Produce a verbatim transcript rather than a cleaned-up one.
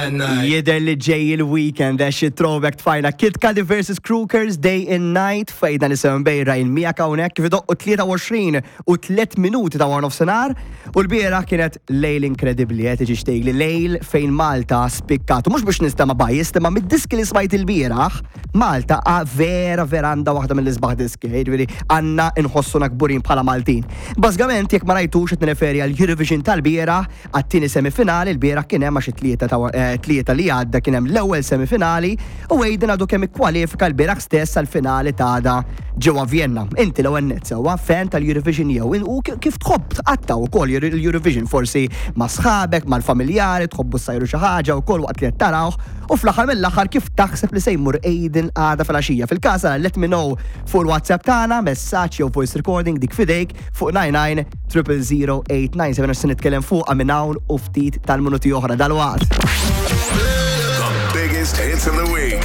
and night. Jidher li ġej il-weekend, għax throwback tfajna Kid Cudi versus Crookers, Day and Night, fejn dan isem bejra il-mija hawnhekk kif idoqqu tlieta u għoxrin u tliet minuti ta' wara nofsinhar, u l-bieraħ kienet lejl inkredibbli, qed tiġi xtejli lejl fejn Malta spikkat. U mhux biex nistema biased, imma mid-diski li smajt il-bieraħ, Malta a vera vera għandha waħda mill-isbaħ diski, jiġifieri għandna nħossuna kburin bħala Maltin. Bażikament, jekk ma rajtux, qed nirreferi għal Eurovision tal-bieraħ, għat-tieni semifinali. Il-bieraħ kien hemm, għax it-tlieta ta' eh, tlieta li għadda kien hemm l-ewwel semifinali, u Aiden għadu kemm ikkwalifika l-bieraħ stess għal-finali ta' għada ġewwa Vienna. Inti l-ewwel nett, sewwa, fan tal-Eurovision jew u kif tħobb tqatta' wkoll l-Eurovision, forsi ma' sħabek, mal-familjari, tħobbu ssajru xi ħaġa wkoll waqt li qed tarawh, u fl-aħħar mill-aħħar kif taħseb li se jmur Aiden għada fil-għaxija? Fil-każ, let me know fuq il-WhatsApp tagħna, messaġġ jew voice recording, dik fidejk, fuq nine nine triple zero eight nine seven, se nitkellem fuq minn hawn u ftit tal-minuti oħra dalwaqt. The biggest hits of the week.